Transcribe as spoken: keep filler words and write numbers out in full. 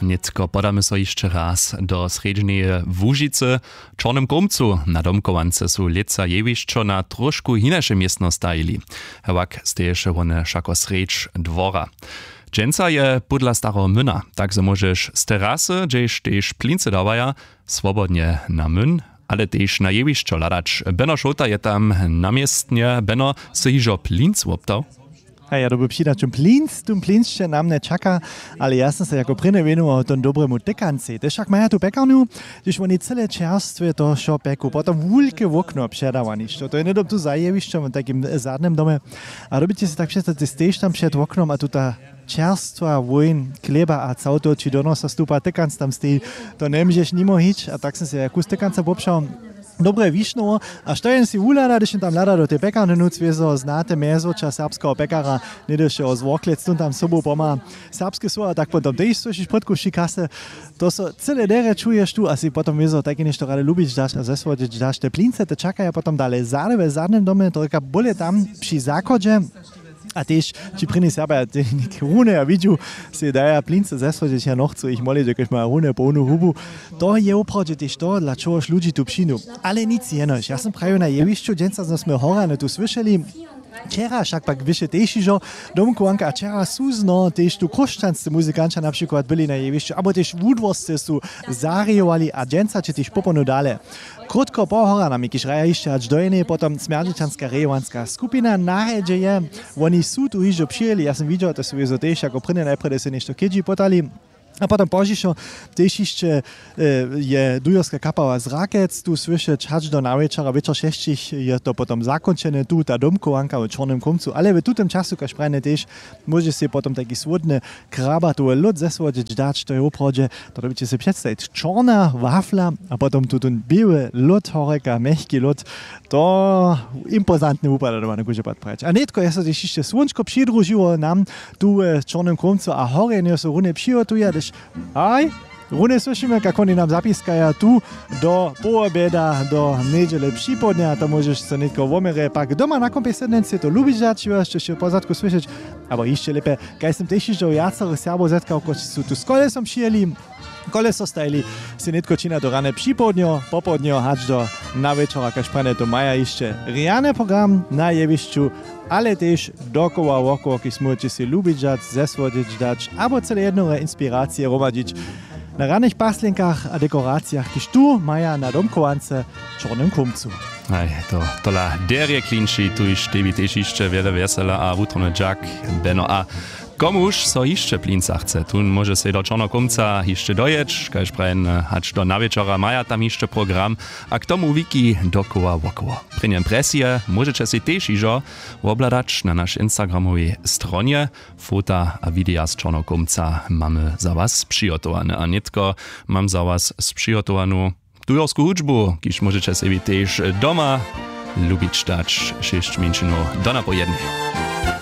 Nětko podamy so hišće raz do srjedźneje Łužicy. W Čornym Kómcu na domkowance su lětsa jewišćo na tróšku hinaše městno stajili. Hewak steješe wone wšako srjedź dwora. Dźensa je pódla stareho myna, tak zo móžeš z terasy, hdźež tež plincy dawaja, swobodnje na myn, ale tež na jewišćo hladać. Beno Šołta je tam na městnje. Beno, sy hižo plinc woptał? A ja doby přidać tón plinc, tón plinc će na mne čaka. Ale ja sam se jako prěnje wěnował tón dobremu tykancej, tež wšak maja tu pjekarnju, hdyž woni cyle čerstwe to wšo pjeku, potom wulke wokno předawanišćo, to je hnydom tu za jewišćom w takim zadnym domje. A dobyće se tak předstawić, stejiš tam před woknom a tuta čerstwa wójn chlěba a całto ći do nosa stupa, tykanc tam steji. To njemóžeš nimo hić. A tak sam se ja kus tykanca wobšał. Dobre wišnowo. A što jen si wuhlada, hdyž jen tam hlada do tej pjekarny nutř wězo, znate mjezwoča serbskeho pjekara, něhdy wšeho z worklec tón tam sobu pomha serbske słowa, tak potom tež słyšiš pódku wši kasy. To so cyle derje čuješ tu a si potom wězo tajke něšto rady lubić daš a zesłodźeć daš. Te plince te čakaja potom dale zady we zadnym domje, to rěka bóle tam při zachodźe. A tež ći prěni serbja te něk rune a widźu, sej daja plince zesłodźeć, ja nochcu jich molić, jakož maja rune połnu hubu. To je woprawdźe tež to, dla čehož ludźi tu přińdu. Ale nic jenož, ja sam prajił na jewišću dźensa, zo smy horjany tu słyšeli. Wčera wšak pak wyše tež hižo domkowanka a wčera su zno tež tu chróšćanscy muzikanća na přikład byli na jewišću abo tež wudworsce su zarějowali a dźensa će tež popołdnju dale. Krótko po horjanami, kiž hraja hišće hač do jenej, potom smjerdźećanska rejowanska skupina na rjedźe je. Woni su tu hižo přijěli, ja sam widźał, to su wězo tež jako prěnje najprjedy sej něšto kedźi potali. A potom pozdźišo tež hišće, e, je dujerska kapała z Rakec tu słyšeć hač do nawječora, wječor šesćich je to potom zakónčene, tu ta domkowanka w Čornym Kómcu, ale w tutym času, kaž prajene tež, móže sej potom tajki słódny krabatowy lód zesłodźeć dać, to je woprawdźe, to dyrbjeće sej předstajić, čorna wafla a potom tutón běły lód, horjeka mjechki lód. To impozantnje wupada doma na kóždy pad prajeć. A nětko je so tež hišće słónčko přidružiło nam tu w Čornym Kómcu a horjenjo so runje přihotuja, hdyž, haj, runje słyšimy, kak woni nam zapiskaja tu do połobjeda, do njedźele připołdnja, to móžeš so nětko woměrje pak doma na kompej sednjenc sej to lubić dać, jo, hišće w pozadku słyšeć. Abo hišće lěpje, kaž sym tež hižo wjacorych Serbow zetkał, kotřiž su tu z kolesom přijěli, koleso stajili, sej nětko činja do rane připołdnjo, popołdnjo hač do nawječora, kaž prajene, to maja hišće rjany program na jewišću, ale tež dokoła wokoło, kiž móžeće sej lubić dać, zesłodźeć dać abo cyle jednore inspiracije hromadźić na ranych paslenkach a dekoracijach, kiž tu maja na domkowance w Čornym Kómcu. Haj, to tola derje klinči, tuž tebi tež hišće wjele wjesela a wutrobny dźak, Beno. A komuž so hišće plinca chce, tón móže sej do Čorneho Kómca hišće dojěć, kaž prajene, hač do nawječora maja tam hišće program. A k tomu wiki dokoła wokoło. Prěnje impresije móžeće sej tež hižo wobhladać na našej instagramowej stronje. Fota a wideja z Čorneho Kómca mamy za was přihotowane. A nětko mam za was spřihotowanu tujorsku hudźbu, kiž móžeće sebi tež doma lubić dać, šěsć mjeńšinow do napołjednje.